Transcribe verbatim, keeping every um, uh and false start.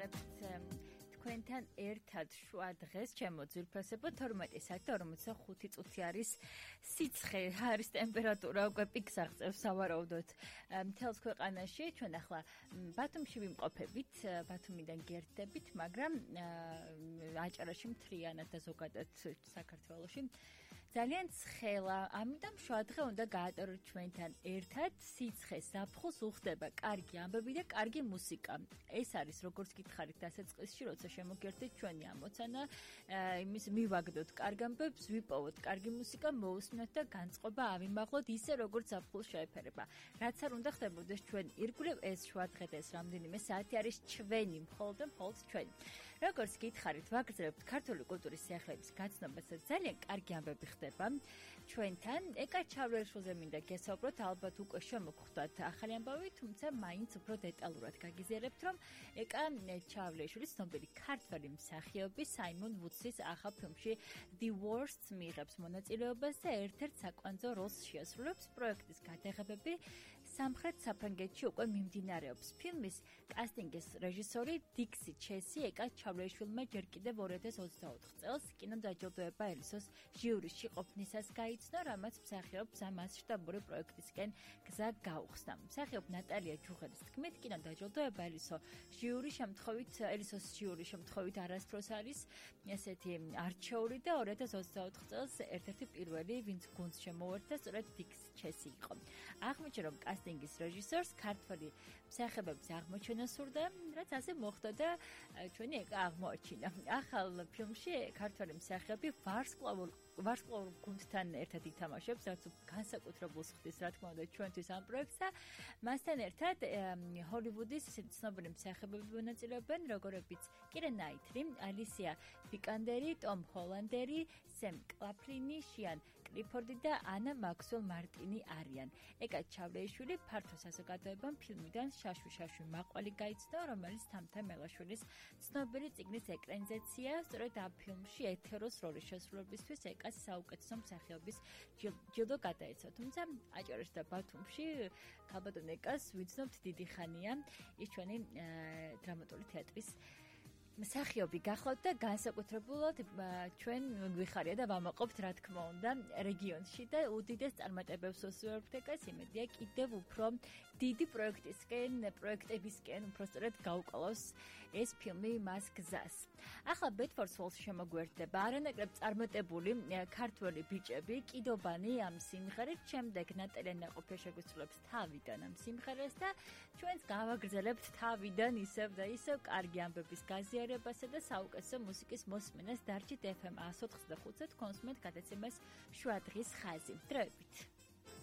ვიმეორებთ თქვენთან ერთად შუა დღეს ჩემო ძვირფასებო თორმეტი საათი და ორმოცდახუთი წუთი არის სიცხე, არის ტემპერატურა უკვე პიკს აღწევს სავარაუდოდ მთელს ქვეყანაში. ჩვენ ახლა ბათუმში ვიმყოფებით, ბათუმიდან გერთდებით, მაგრამ აჭარაში მთლიანად და ზოგადად საქართველოში ძალიან ცხელა, ამიტომ შუა დღე უნდა გაატაროთ ჩვენთან ერთად სიცხე ზაფხულს უხდება კარგი ამბები და კარგი მუსიკა. ეს არის როგორც გითხარით დასაწყისში, როცა შემოგერთით ჩვენი ამოცანა, იმის მივაგდოთ კარგ ამბებს, ვიპოვოთ კარგი მუსიკა, მოусმინოთ და განწყობა ავიმაღლოთ ისე როგორც ზაფხულს შეეფერება. რაც არ უნდა ხდებოდეს ჩვენ ირგვლივ, ეს შუა დღე და ეს რამდენიმე საათი არის ჩვენი, მხოლოდ და მხოლოდ ჩვენი. როგორც გითხარით, ვაგრძელებთ ქართული კულტურის სიახლეების გაცნობას და ძალიან კარგი ამბები ხდება ჩვენთან. ეკა ჩავლეშვილზე მინდა გესაუბროთ, ალბათ უკვე შემოგხვდათ ახალი ამბავი, თუმცა მაინც უფრო დეტალურად გაგიზიარებთ, რომ ეკა ჩავლეშვილის ცნობილი ქართველი მსახიობი საიმონ ვუდსის ახალ ფილმში The Worst მიიღებს მონაწილეობას და ერთ-ერთ საკვანძო როლს შეასრულებს. პროექტის გადაღებები სამხრეთ საფრანგეთში უკვე მიმდინარეობს. ფილმის კასტინგის რეჟისორი დიქსი ჩესი ეკა ჩავლეშვილმა ჯერ კიდევ ორი ათას ოცდაოთხ წელს კინოდაჯილდოება ელისოს ჟიურიში ყოფნისას გაიცნო, რამაც მსახიობს ამ მასშტაბური პროექტისკენ გზა გაუხსნა. მსახიობ ნატალია ჯუღელის თქმით, კინოდაჯილდოება ელისო ჟიური შემთხვევით ელისოს ჟიური შემთხვევით არასდროს არის ესეთი არჩეული და ორი ათას ოცდაოთხ წელს ერთ-ერთი პირველი, ვინც გუნდს შემოუერთდა, სწორედ დიქსი ჩესი იყო. აღმოჩნდა, რომ კასტინგის რეჟისორს ქართველი მსახიობების აღმოჩენა სურდა, რაც ასე მოხდა და ჩვენი ეკა აღმოაჩინა. ახალ ფილმში ქართველი მსახიობი ვარსკვლავურ ვარსკვლავურ გუნდთან ერთად ითამაშებს, რაც განსაკუთრებულს ხდის, რა თქმა უნდა, ჩვენთვის ამ პროექტს და მასთან ერთად ჰოლივუდის ისეთი ცნობილი მსახიობები მონაწილეობენ, როგორებიც კირა ნაიტლი, ალისია ვიკანდერი, ტომ ჰოლანდერი, სემ კლაფლინი, შიან კლიფორდი და ანა მაქსველ მარტინი არიან. ეკა ჩავლეიშვილი ფართო საზოგადოებამ ფილმიდან შაშვი შაშვი მაყვალი გაიცნო, რომელიც თამთა მელაშვილის ცნობილი წიგნის ეკრანიზაცია, სწორედ ამ ფილმში ეთეროს როლის შესრულებისთვის ეკა საუკეთესო მსახიობის ჯილდო გადაეცა. თუმცა აჭარაში და ბათუმში ქალბატონ ეკას ვიცნობთ დიდი ხანია, ის ჩვენი დრამატული თეატრის მსახიობი გახლავთ და განსაკუთრებულად ჩვენ გვიხარია და ვამაყობთ, რა თქმა უნდა, რეგიონში და უდიდეს წარმატებებს უსურვებთ ეკას, იმედია კიდევ უფრო დიდი პროექტისკენ, პროექტებისკენ უფრო სწორედ გაუკვალოს ეს ფილმი მას გზას. ახლა ბედფორდს ჰოლში შემოგვერთდება არანაკლებ წარმატებული ქართველი ბიჭები, კიდობანი ამ სიმღერით, შემდეგ ნატალია ნაყოფია შეგვისრულებს თავიდან ამ სიმღერას და ჩვენც გავაგრძელებთ თავიდან ისევ და ისევ კარგი ამბების გაზიარებას და საუკეთესო მუსიკის მოსმენას. დარჩით ეფ ემ ათს ოცდახუთზე თქვენს მეტ გადაცემას შუა დღის ხაზი. დროებით.